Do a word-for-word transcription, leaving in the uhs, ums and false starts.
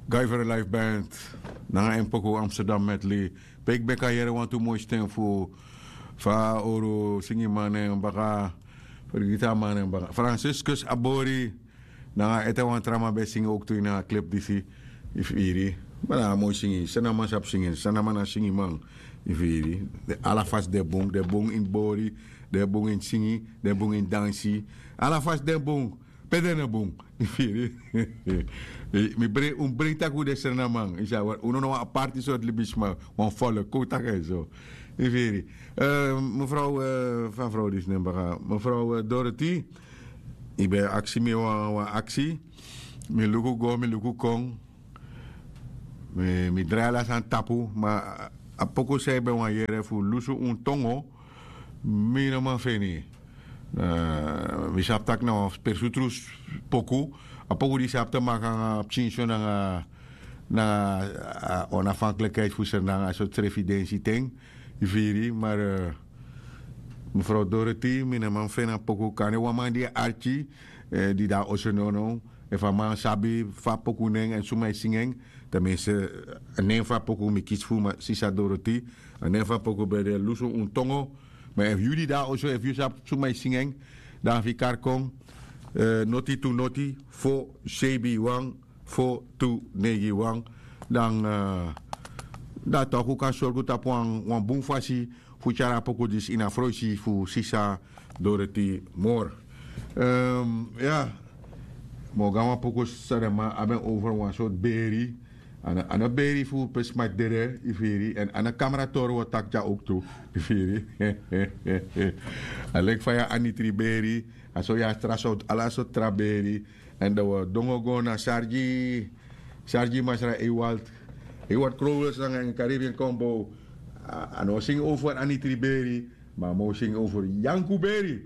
Guy for the Life Band nanga en poku Amsterdam Medley. Pe yu ben kan yere wantu moi sten fu fa a oro singiman nen baka, fergiti a man nen baka, Franciscus Abori. Nanga ete wan tra man ben singi owktu ini a klip disi. Yu firi? Ma na a moi singi. Sanaman sabi singi, sanaman na singiman. Yu firi? Ala fasi den bun, den bun ini bori, den bun ini singi, den bun ini dansi. Ala fasi den bun. Pe den no bun? Yu firi? Mi brei un brei taki un de srenaman, yu sa wari un no na wan aparti sortu libisma, wan folo kon un taki en so. Yu firi? Mefrow, fa frow disi nen baka, mefrow Dorothy. Yu ben aksi mi wan aksi. Mi luku go, mi luku kon. Mi drai ala sani tapu, ma a poku san yu ben wani yere fu lusu un tongo, mi no man feni. Mi sabi tak' na wan persutru poku. A poku disi abi te maki nanga pikinso nanga nanga a onafhanklikheid fu sernang a sortu srefi densi ten. Yu firi? Mar mefrow Dorothy, mi no man feni a poku. Kande wan man di e arki di de na oso nownow, efu a man sabi fa a poku nen èn suma e singi en, ten minste a nen fu a poku mi kisi fu sisa Dorothy. A nen fu a poku ben de lusu un tongo. Ma efu yu di de na oso, efu yu sabi suma e singi en, dan a fika kon noti tu noti fo seibi wan fo tu neigi wan. Dan dan toku kan sorgu tapu wan bun fasi fu tyari a poku disi ini a froisi fu sisa Dorothy Moore. Ya, mi o go na wan poku san den man abi en over wan sortu beri. A no beri fu pe sma dede, yu firi, èn a no kamra tori wi o taki dya owktu, yu firi. A leki fa yu abi anitri beri, a so yu abi tra sortu, ala sortu tra beri. Èn dan wi o dongo go na sargi sargi masra Ewald, Ewald Krowels nanga en Caribbean Combo. A no o singi over anitri beri, ma a man o singi over yanku beri.